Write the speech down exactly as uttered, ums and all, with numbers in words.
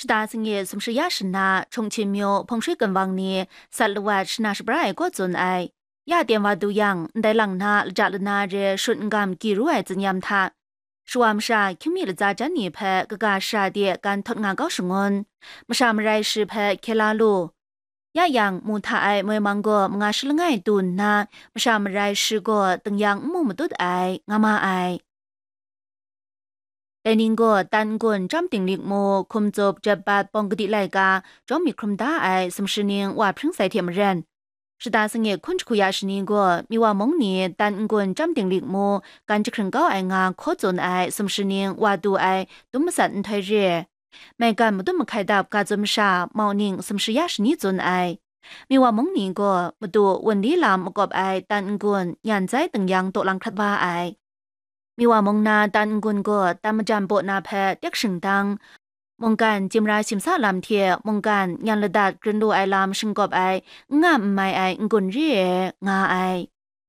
Shata sangi sumshi ya shana, Chungchin myu hpung shui gun wang ni sat lawat shana shabra ai kaw tsun ai. Ya ten wa du yang, ndai lang na laja lana re shut n gam gyi ru ai tsinyam hta, shawa masha hkying mi latsa jan ni hpe kaga shara de gan htawt nga kau shangun, masha marai shi hpe hkye la lu. Ya yang, mu hta ai moi mang gaw manga shi langai tu nna, masha marai shi gaw tingyan n mu matut ai, nga ma ai. Dai ning gaw, tan n-gun, chyam dinglik mu, hkum tsup, jep bat, pawng kadi laika, jawm myit hkrum da ai sumshi ning wa hpring sai hte maren, shata sangi hkun jahku ya shani gaw, Miwa mung ni tan n-gun, chyam dinglik mu, gan jahkring kau ai nga hkaw tsun ai sumshi ning wa du ai dum matsat nhtoi re, maigan madum mahkai dap ga tsun masha, mauning sumshi ya shani tsun ai. Miwa mung ni gaw madu wunli lam makawp ai tan n-gun, nyan zai tingyan daw lang hkrat wa ai. Miwa mung na tan n-gun gaw tan majan baw na hpe tek shingdang, mungkan chyimra shimsa lam hte mungkan nyan ladat grin lu ai lam shingkawp ai, n nga n mai ai n-gun re ai, nga ai.